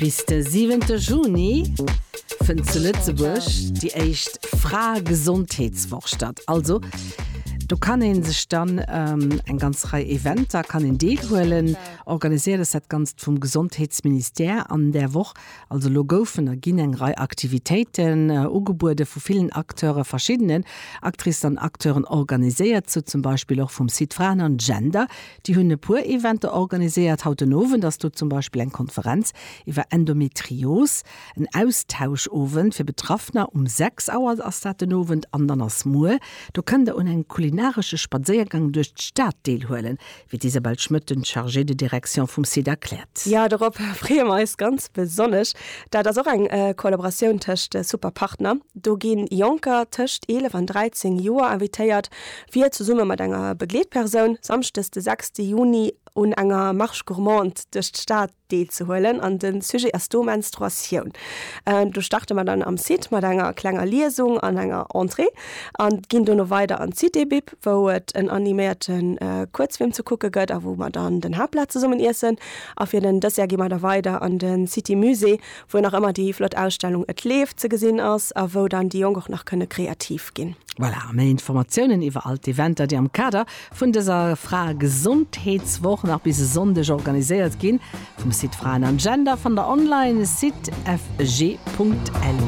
Bis de siwente Juni fënnt zu Lëtzebuerg déi éischt Fraegesondheetswoch statt. Also do kann ee sech dann eng ganz Rei Eventer kann een deelhuelen. Organiséiert ass dat Ganzt vum Gesondheetsministère an där Woch. Also elo goufen a ginn eng Rei Aktivitéiten ugebuede vu villen Acteure, verschiddenen Actricen an Acteuren organiséiert, sou zum Beispill och vum Site Fraen an Gender. Déi hunn e puer Eventer organiséiert. Haut den Owend ass do zum Beispill eng Konferenz iwwer Endometrios, en Austauschowend fir Betraffener. Um 6 Auer ass dat den Owend an dann ass muer, do kënnt der un engem kulinaresche Spadséiergang duerch d'Stad deelhuelen, wéi d'Isabelle Schmëtt, den Chargée de direction vum Site erkläert. Jo, dorop freeë mer eis ganz besonnesch. Dat ass och eng Kollaboratioun tëscht super Partner. Do gi Jonker tëscht 11 an 13 Joer invitéiert, fir zesumme mat enger Begleetpersoun samschdes de 6 Juni un enger Marche gourmande duerch d'Stad deelzehuelen an de Sujet ass do Menstruatioun. Do starte mer dann am Site mat enger klenger Liesung an enger Entrée an ginn dono weider an d'Cité Bib, wou et en animéierte Kuerzfilm ze kucke gëtt a wou mer dann den Haaptplat zesummen iessen. A fir den Dessert gi mer da weider an de City Musée, wou nach ëmmer déi flott Ausstellung Et leeft ze gesinn ass a wou dann déi Jonk och nach kënne kreativ ginn. Voilà, a méi Informatiounen iwwer all d'Eventer, déi am Kader vun dëser Fraegesondheetswoch nach bis e Sonndeg organiséiert ginn, vum Site Fraen an Gender fannt der online, site fg.lu.